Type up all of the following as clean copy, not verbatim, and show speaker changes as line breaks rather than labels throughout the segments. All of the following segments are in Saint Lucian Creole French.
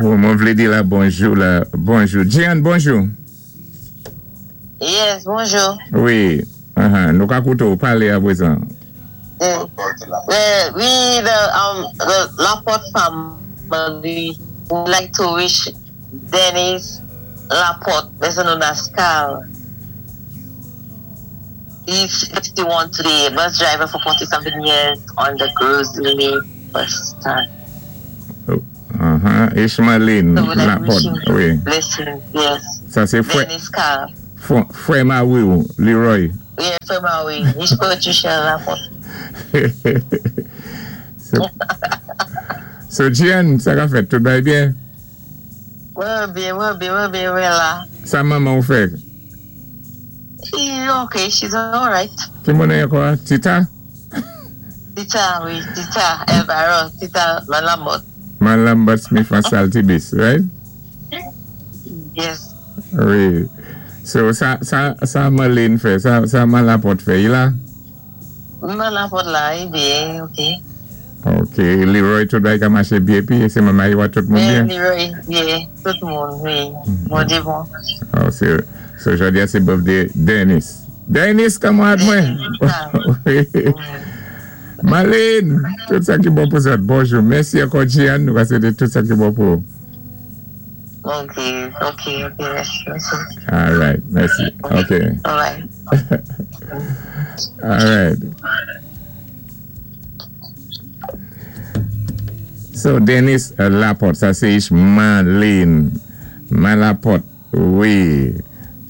Mwen vlé di la bonjou la. Bonjou. Jean, bonjou.
Yes, bonjou.
Wi. Nou ka kouté palé apwézan.
We, the Laporte family, would like to wish Dennis Laporte, better known as Carl. He's 61 today, a bus driver for 40 something years on the Gros Islet bus stand.
Ishmaeline
So we'd like to wish
Laporte,
him
wi.
blessing, yes.
Sa sé fwè,
Dennis Carl.
Fwè Mawi ou, Leroy.
Yeah, fwè Mawi. He's Patricia Laporte.
So Jean, sa ka fèt, tout bay byen?
Mwen byen, mwen byen, mwen byen, mwen la.
Sa manman ou fè?
She's okay, she's alright.
Ki moun ankò? Tita?
Tita, wi, Tita, Elvira, Tita Malambot.
Malambot Smith an Saltibus, right?
Yes.
Wi. So, sa Marlene fè, sa Malapot fè, i la?
Malapot la, i byen, ok.
Ok, Leroy tout bay ka maché byen pi, sé manman yi wa tout moun
Byen,
byen?
Leroy, byen, tout moun, wi. Bonjou bon.
Oh, so jòdi a sé birthday Dennis. Dennis, kanmarad mwen? Wi. Marlene, tout sa ki bon pou zòt. Bonjou. Mèsi ankò Jean, nou va swété tout sa ki bon pou.
Ok, mèsi, mèsi.
All right, mèsi. Ok.
Bye.
All right. So, Dennis Laporte, sa sé Marlene. Malaporte, wi.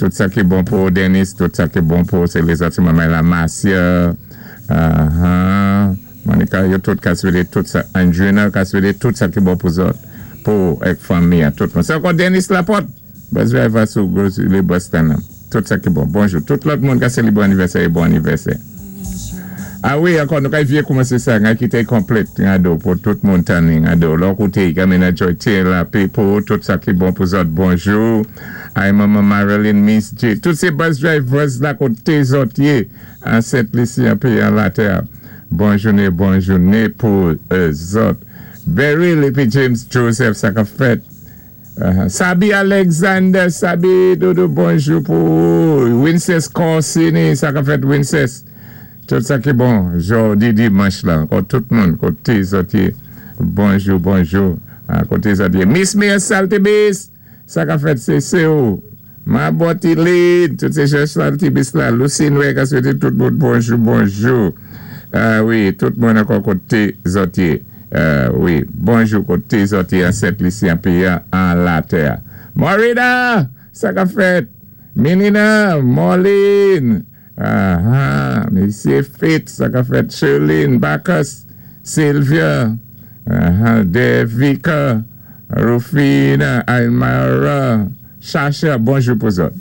Tout sa ki bon pou Dennis, tout sa ki bon pou sé lézòt, sé manman la Marcia. Monica, yo tout ka swété tout sa. Andrina ka swété tout sa ki bon pou zòt. Pou èk fanmi a tout moun. Sé ankò Dennis Laporte. Bus driver sou Gros Islet bus stand. Tout sa ki bon. Bonjou. Tout lòt moun ka sélébwé anivèsè é bon anivèsè. A wi, ankò, nou ka vye koumansé sa, nga kité konplèt, nga do, pou tout moun tanni, nga do. Lò kouté, Gamina Joy Taylor, people, tout sa ki bon pou zòt, bonjou. Ay, Mama Marilyn, Miss J. Tout sé bus drivers la koté zòt yé, an Sent Lisi, an péyi an latè. Bon jouné, bon jouné pou zòt. Beryl épi James Joseph, sa ka fèt. Sabi Alexander, Sabi Dodo, bonjou pou ou. Winces Corsini, sa ka fèt Winces. Tout sa ki bon, jòdi dimanch la, kon tout moun, koté zòt yé. Bonjou, bonjou, koté zòt yé. Miss Mia Saltibus, sa ka fèt sé sé ou. Ma Botilide, tout sé jè Saltibus la. Lucy Noé ka swété tout moun bonjou, bonjou. Wi, tout moun ankò koté zòt yé. Wi, bonjou koté zòt yé an Sent Lisi an péyi an latè. Morida, sa ka fèt. Minina, Moline, aha, Mesye Fitz, sa ka fèt. Sherline, Bacchus, Sylvia, aha, Devika, Rufina, Almara, Chacha, bonjou pou zòt.